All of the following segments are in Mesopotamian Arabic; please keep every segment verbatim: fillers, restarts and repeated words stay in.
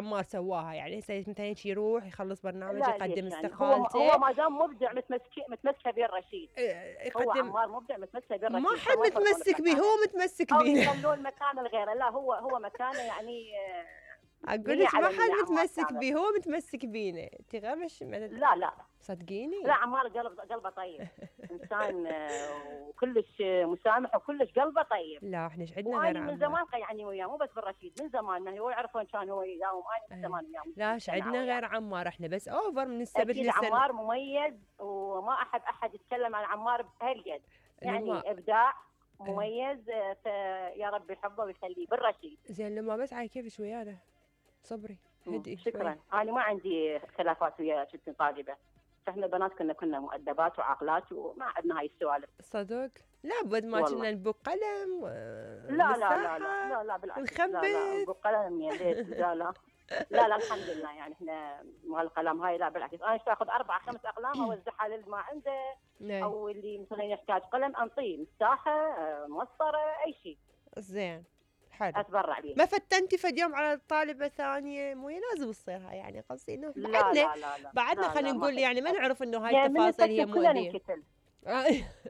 عمار سواها، يعني هسه مثلا هيك يروح يخلص برنامج لا يقدم ليش يعني؟ هو استقالته. هو ما دام مبدع متمسك متمسكه بين رشيد. إيه، هو يقدم. عمار مبدع متمسكه بين ما رشيد، حد فما يفرقون متمسك به، بمكانه. هو متمسك او بينا. يخلون مكانه لغيره، لا هو هو مكانه يعني آه، اقول مية لك ما على حد مية عمار متمسك كامل. به، هو متمسك بينا. انت غير مش لا لا صدقيني. لا عمار قلب قلبه طيب. انسان آه، وكلش مسامح وكلش قلبه طيب. لا احنا ايش عندنا غير واني من عمار. زمان يعني وياه، مو بس بالرشيد، من زمان هو يعرفون كان هو يداوم، انا من زمان وياه. لا ايش عندنا غير عمار، احنا بس اوفر من السبت اكيد للسنة. عمار مميز، وما احب احد يتكلم عن عمار بهالقد، لما يعني ابداع مميز. فيا رب يحبه ويخليه بالرشيد. زين لما بس على كيفش ويانا، صبري هدي شكرا. شوي. انا ما عندي خلافات ويا كنت طالبه، فاحنا بنات كنا كنا مؤدبات وعاقلات وما عندنا هاي السوالف. صدق لا بود ما كنا نبق قلم لا لا لا لا لا لا بالعكس، لا لا نخبث بقلم يا ليت، لا لا لا لا الحمد لله، يعني احنا مال القلم هاي لا بالعكس، انا اخذ اربع خمس اقلام اوزعها للي ما عنده، او اللي مثلا يحتاج قلم انطيه مساحه موصره اي شيء. زين حلو. اتبرع به. ما فتنتي فد يوم على طالبه ثانيه؟ مو لازم تصير هاي، يعني قصدي انه لا بعدنا لا لا لا بعدنا خلينا نقول يعني ما نعرف انه هاي التفاصيل هي مؤذيه.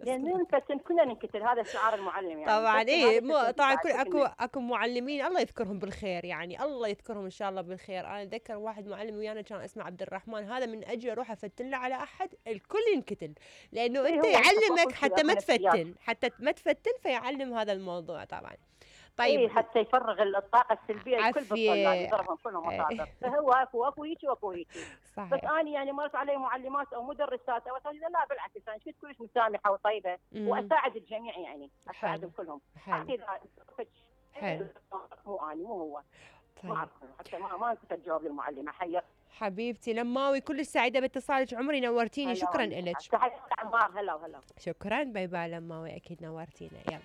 لان ننفتن كلنا ننكتل، هذا شعار المعلم يعني. طبعا ايه مو طبعا كل اكو اكو معلمين الله يذكرهم بالخير، يعني الله يذكرهم ان شاء الله بالخير. انا اتذكر واحد معلم ويانا كان اسمه عبد الرحمن، هذا من اجي اروح افتن له على احد الكل ينكتل، لانه إيه انت يعلمك حتى ما تفتن، حتى ما تفتن فيعلم هذا الموضوع طبعا. طيب ايه حتى يفرغ الطاقه السلبيه الكل بالطلاب، يضربهم كلهم مصادر. فهو اكو اكو هيك واكو هيك. بس انا يعني مرت علي معلمات او مدرسات او اساتذه لا بالعكس، انا كنت كلش مسامحه وطيبه واساعد الجميع، يعني اساعدهم كلهم. حلو حلو. مو اني مو هو. طيب. ما حتى ما ما كنت اجاوب للمعلمه حير. حبيبتي لماوي كلش سعيده باتصالك عمري، نورتيني. شكرا لك. تحياتي عمار. هلا وهلا. شكرا باي باي لماوي، اكيد نورتينا. يلا